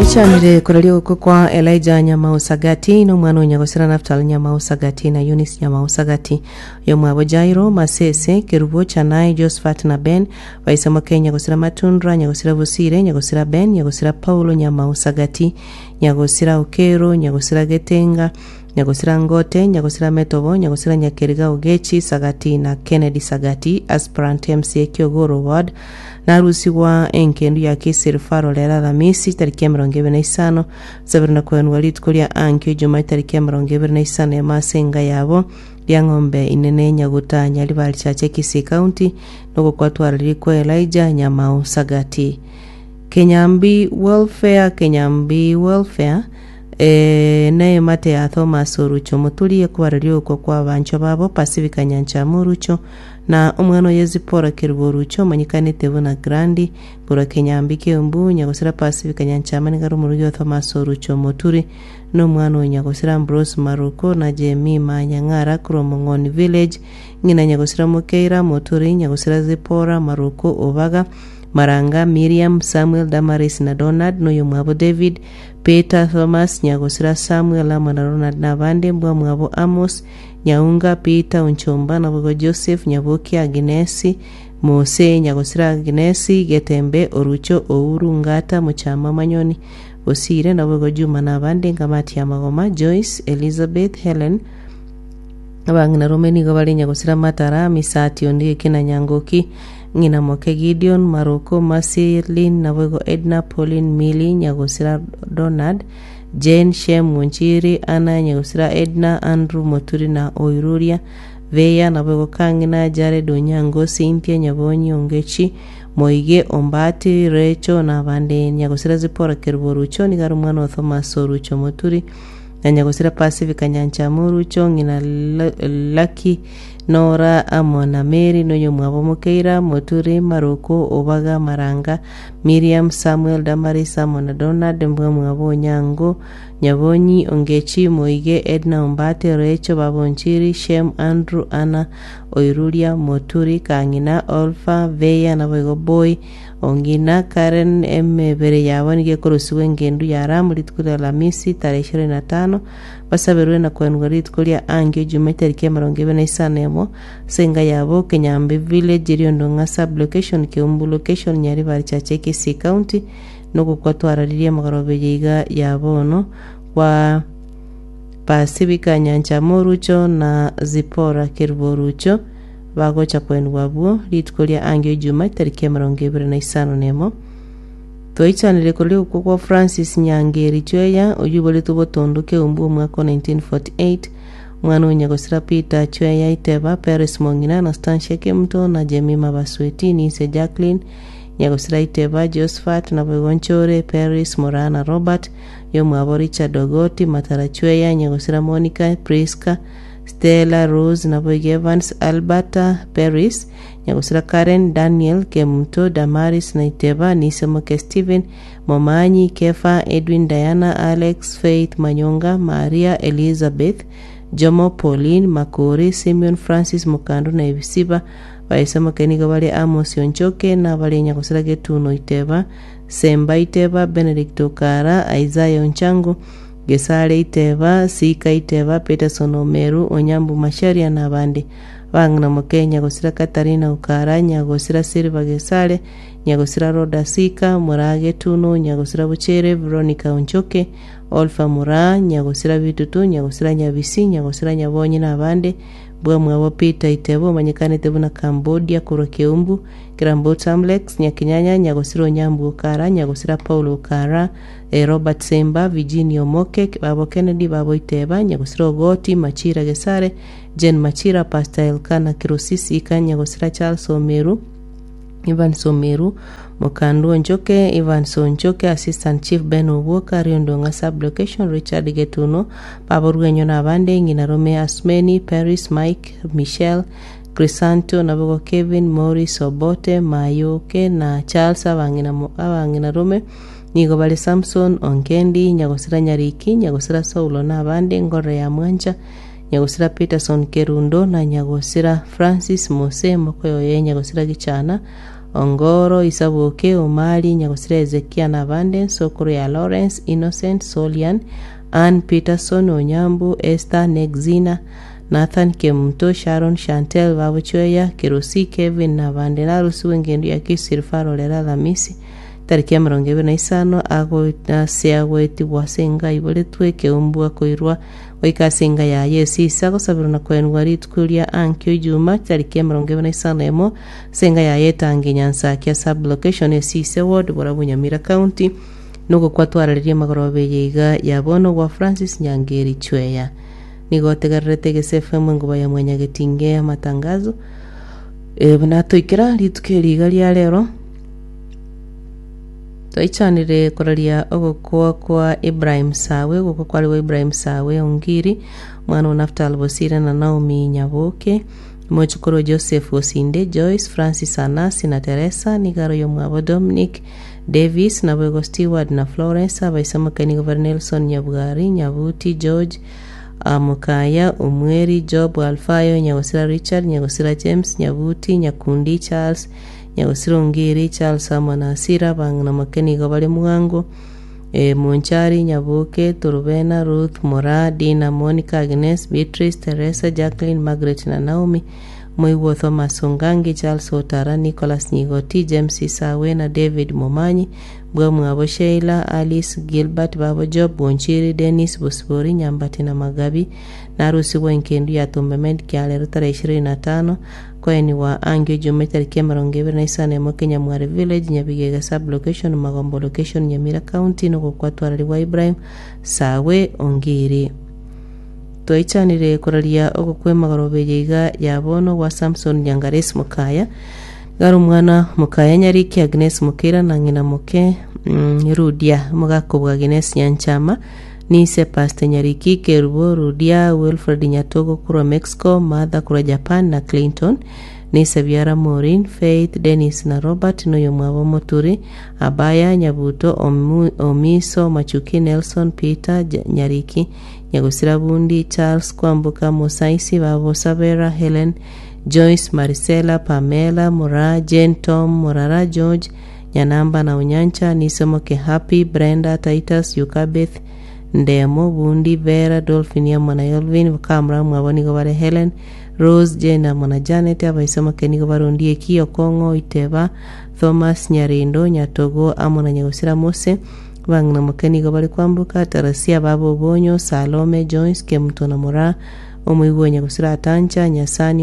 Twaisanire koraria ogokwa kwa Elijah Nyamau Sagati na omwana o Nyagosira Naftali Nyamau Sagati na Eunice Nyamau Sagati, oyomwabo Jairo, Masese, Kerubo, Chanai, Josephat na Ben, baise moke Nyagosira Matundra, Nyagosira Bosire, Nyagosira Ben, Nyagosira Paulo Nyamau Sagati, Nyagosira Okero, Nyagosira Getenga, Nyagosira Ngote, Nyagosira Metobo, Nyagosira Nyakeriga Ogechi Sagati na Kennedy Sagati, Aspirant MCA Kiogoro Ward, Narusigwa engendu ya Kisii Referral ere Alamisi tariki 25, sabiri na koenwa rituko ria ankio Ijumaa tariki 25 emo ase enga yabo Riang'ombe Inene Nyaguta Nyaribari Chache Kisii County nogokwa twarariri kwa Elijah Nyamau Sagati. Kenyambi Welfare Kenyambi Welfare eh, neemate ya Thomas Orucho Moturi ekobararia ogokwa kwa abanchwa babo Pacifica Nyanchama Orucho Na omwana oye Zipora kerubo oruche omanyekanete buna Grandi, korwa kenyambi ki'embu, nyagosira Pasifika nyanchama nigo are omorugi o Thomas oruche omoturi, na omwana o nyagosira Ambrose Maruko na Jemima Nyang'ara korwa Omong'oni Village, ng'ina nyagosira Mokeira Moturi, nyagosira Zipora Maruko Obaga, Maranga, Miriam, Samuel, Damaris na Donald, na oyomwabo David, Peter, Thomas, nyagosira Samuel amo na Ronald na abande, mbwamwabo Amos, Nyaunga, Peter, Onchomba, naboigo Joseph, Nyaboki, Aginesi, Mose, Nyagosira Aginesi, Getembe, Orucho, Ouru, Ngata, Mochama, Manyoni, Bosire, naboigo Juma na abande, Ngamati ya Magoma, Joyce, Elizabeth, Helen, Abang'ina rome nigo bare Nyagosira Matara, Misati, Ondieki na Nyangoki, Ng'ina moke Gideon, Maroko, Mercy, Lynn, naboigo Edna, Pauline, Milly, Nyagosira Donald, Jane, Shem, Monchiri, Anna, Nyagusira, Edna, Andrew, Moturi na Oiruria, Veya, naboigo Kang'ina, Jared, Onyango, Cynthia, Nyabonyi, Ongechi, Moige, Ombati, Recho, na abande. Nyagusira Zipporah Kerubo Orucho nigo are omwana o Thomas Orucho Moturi, na Nyagusira Pacifica Nyanchama Orucho, ng'ina Lucky, Nora, amo na Mary, na oyomwabo Mokeira, Moturi, Maroko, Obaga, Maranga, Miriam, Samuel, Damaris, amo na Donald, mbwamwabo Onyango, Nyabonyi, Ongechi, Moige, Edna, Ombati, Recho, baba Onchiri, Shem, Andrew, Anna, Oiruria, Moturi, Kang'ina, Olfa, Veya, naboigo Boy, Ongina, Karen, emebere yabo nigo ekorosigwa engendu ya Ramu rituko ria Alamisi tarehe ishirini na tano, basaberwe na koenigwa rituko ria ankio Ijuma etariki emerongo ebere na isano emo, Ase enka yabo Kenyambi Village, Eriondo ng'a Sub-location, Keumbu Location, Nyaribari Chache, Kisii County, nogokwa twararirie amagoroba eye iga ya bono kwa Pasifika Nyanchama Orucho na Zipporah Kerubo Orucho bagocha koenigwa abwo rituko ria angio Ijuma etariki 25 nemo. Twaichanire koria ogokwa kwa Francis Nyangeri Chweya oyio oiboretwe botondo Keumbu omwaka o 1948 Omwana o nyagosira Peter Chweya Iteba, Peres Mong'ina, Anastasia Kemuto, na Jemima Basweti, Ninse Jacqueline, Nyagosira Iteba, Josephat, naboigo Nchore, Peris, Moraa na Robert, oyomwabo Richard Ogoti, Matara Chweya, Nyagosira Monica, Prisca, Stella, Rose, naboigo Evans, Alberta, Peris, Nyagosira Karen, Daniel, Kemuto, Damaris na Iteba, Nise moke Stephen, Momanyi, Kefa, Edwin, Diana, Alex, Faith, Manyonga, Maria, Elizabeth, Jomo, Pauline, Makori, Simeon, Francis, Mokando na Ebisiba. Baise moke nigo bare Amos Onchoke, na abare Nyagosira Getuno Iteba, Semba Iteba, Benedict Okara, Isaiah Onchango, Gesare Iteba, Sika Iteba, Peterson Omeru, Onyambu Macharia na abande. Abang'ina moke Nyagosira Katarina Okara, Nyagosira Silver Gesare, Nyagosira Rhoda Sika, Moraa Getuno, Nyagosira Bochere, Veronica Onchoke, Olpha Moraa, Nyagosira Bitutu, Nyagosira Nyabisi, Nyagosira Nyabonyi na abande bwamwabo Peter Itebo omanyekanete buna Cambodia korwa Keumbu, Kirambo Tamlex, Nyakinyanya, Nyagosira Onyambu Okara, Nyagosira Paul Okara, Robert Semba, Virginia Omoke, Babo Kennedy, Babo Iteba, Nyagosira Ogoti, Machira Gesare, Jane Machira, Pastor Elkana Kirosisi, Ika Nyagosira Charles Omeru, Evans Omeru, Mokandu Onchoke, Evans Onchoke, Assistant Chief Ben Obwoka, Riondong'a Sub-Location, Richard Getuno, Baba Orwenyo na abande, Ng'ina Rome Asmeni, Paris, Mike, Michelle, Crisanto, naboigo Kevin, Maurice Obote, Mayoke na Charles abang'ina mo- abang'ina rome nigo bare Samson, Ongendi, Nyagosira Nyariki, Nyagosira Saulo na abande, Ngorore ya Mwancha, Nyagosira Peterson Kerundo na Nyagosira Francis Mose, mokoyo oye Nyagosira Gichana, Ongoro, Isaboke, Omari, Nyagosira Hezekia na abande, nsokoro ya Lawrence, Innocent, Solian, Ann, Peterson, Onyambu, Esther, Nexina, Nathan, Kemunto, Sharon, Chantel, Babochweya, Kerosi, Kevin na abande. Narusigwe engendu ya Kisii Referral ere Alamisi, tariki 25 ase agoetigwa ase enga aiboretwe ekeumbu akoirwa goika ase enga yaye esisa agosaberwa na koenigwa rituko ria ankio Ijuma tariki 21 ase enga yaye etangi Nyansakia sub-location esise ward Borabu Nyamira County nogokwa twarareria amagoroba eye iga ya bono gwa Francis Nyangeri Chweya. Nigo otegererete Egese FM enguba ya Mwanyagetinge amatangazo eh, buna toikera rituko eri iga ria rero Twaichanire koraria ogokwa kwa Ibrahim Sawe, ogokwa kware gwa Ibrahim Sawe Ongiri, omwana o Naftal Bosire na Naomi Nyaboke, omochokoro o Joseph Osinde, Joyce, Francis Anasi na Teresa, nigo are oyomwabo Dominic, Davis, naboigo Steward na Florence, abaise moke nigo bare Nelson Nyabwari, Nyabuti, George, Mokaya, Omweri, Job, Alfayo, Nyagosira Richard, Nyagosira James, Nyabuti, Nyakundi, Charles, Nyagosira Ongiri, Charles amo na Asira, abang'ina moke nigo bare mwango, Monchari, Nyaboke, Torobena, Ruth, Moraa, Dina, Monica, Agnes, Beatrice, Teresa, Jacqueline, Margaret na Naomi, Moigwa Thomas Ongangi, Charles Otara, Nicholas Nyigoti, James Isawe na David Momanyi, bwamwabo Sheila, Alice, Gilbert, babo Job, Bonchiri, Dennis, Bosibori, Nyambati na Magabi, Narusigwe enkendu ya Tumbemed kiarero tarehe 25 koenigwa angio Ijuma etariki 25 Kenyamware Village, Nyabigega Sub-location, Magombo Location, Nyamira County, nogokwa twararigwa Ibrahim Sawe Ongiri. Twaichanire koraria ogokwa emagoroba eye iga ya bono gwa Samson Nyangaresi Mokaya, nigo are omwana Mokaya Nyariki Agnes Mokeira na ng'ina moke Rudia omogaka bwa Agnes Nyanchama, Nise Pastor Nyariki, Kerubo, Rudia, Wilfred Nyatogo korwa Mexico, Martha korwa Japan na Clinton, Nise biara Maureen, Faith, Dennis na Robert noyomwabo Omoturi, Abaya, Nyabuto, Omiso, Machuki, Nelson, Peter, Nyariki, Nyagosira Bundi, Charles, Kwamboka, Mosaisi, Babo, Sabera, Helen, Joyce, Marisela, Pamela, Moraa, Jane, Tom, Morara, George, Nyanamba na Onyancha, Nisomoke, Happy, Brenda, Titus, Yukabeth, Ndemo, Bundi, Vera, Dolphin amo na Elvin, bakamura mwabo nigo bare Helen, Rose, Jane amo na Janet, abaisomoke nigo bare Ondieki, Okong'o, Iteba, Thomas, Nyarindo, Nyatogo amo na Nyagosira Mose, bang'ina moke nigo bare Kwamboka, Tarasia, baba Obonyo, Salome, Joyce, Kemuto na Moraa, omoigwa o Nyagosira Atancha, Nyasani,